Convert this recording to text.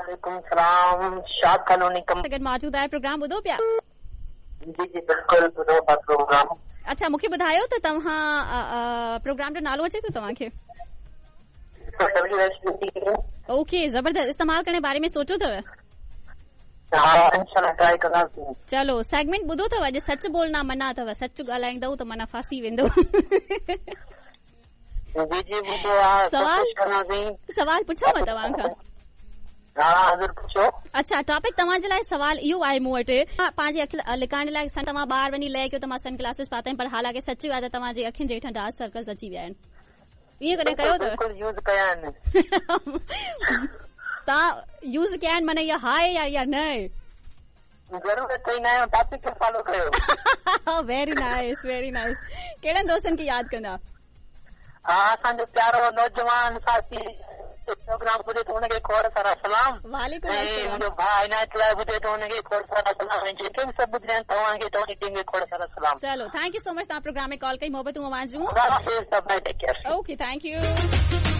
वालेकुम सलाम। शाह कॉलोनी कम गॾु मौजूदु आहे। प्रोग्राम ॿुधो पिया? जी जी बिल्कुलु ॿुधो था प्रोग्राम। अच्छा, मूंखे ॿुधायो त तव्हां प्रोग्राम जो नालो अचे थो तव्हांखे? ओके, ज़बरदस्त। इस्तेमाल करण जे बारे में सोचो अथव? हा, इंशाल्लाह ट्राई कंदासीं। चलो, सेगमेंट ॿुधो अथव? अॼु सच बोलना मना अथव। सच ॻाल्हाईंदव त माना फांसी वेंदो। जी जी ॿुधो आहे। सवाल? कोशिश कंदासीं। सवाल पुछांव तव्हां खां? हा, हज़ूर पुछो। अच्छा, टॉपिक तव्हांजे लाइ सवाल इहो आहे मूं वटि, पंहिंजी अखि लिकाइण लाइ तव्हां ॿाहिरि वञी लए कयो त मां सन ग्लासेस पाता आहिनि, पर हालांकि सच इहो आहे त तव्हांजी अखियुनि जे हेठां डार्क सर्कल्स अची विया आहिनि। ईअं कॾहिं कयो अथव? बिल्कुलु यूज़ कया आहिनि। तव्हां यूज़ कया आहिनि, माना इहा हा आहे या इहा न आहे? ज़रूरत ई न आहे, टॉपिक खे फॉलो कयो। Very nice, very nice. कहिड़नि दोस्तनि खे यादि कंदा? हा, असांजो प्यारो नौजवान साथी प्रोग्राम ॿुधे थो, हुनखे खोड़ सारा सलाम। वालेकुम ऐं अस्सलाम। मुंहिंजो भाउ इनायत लाइ ॿुधे थो, हुनखे खोड़ सारा सलाम। ऐं जेके बि सभु ॿुधंदा आहिनि, तव्हांखे, तव्हांजी टीम खे खोड़ सारा सलाम। चलो, thank you so much, तव्हां प्रोग्राम में कॉल कई, मोहबतूं अव्हां जूं। अल्लाह हाफ़िज़, सब take care. Okay, thank you.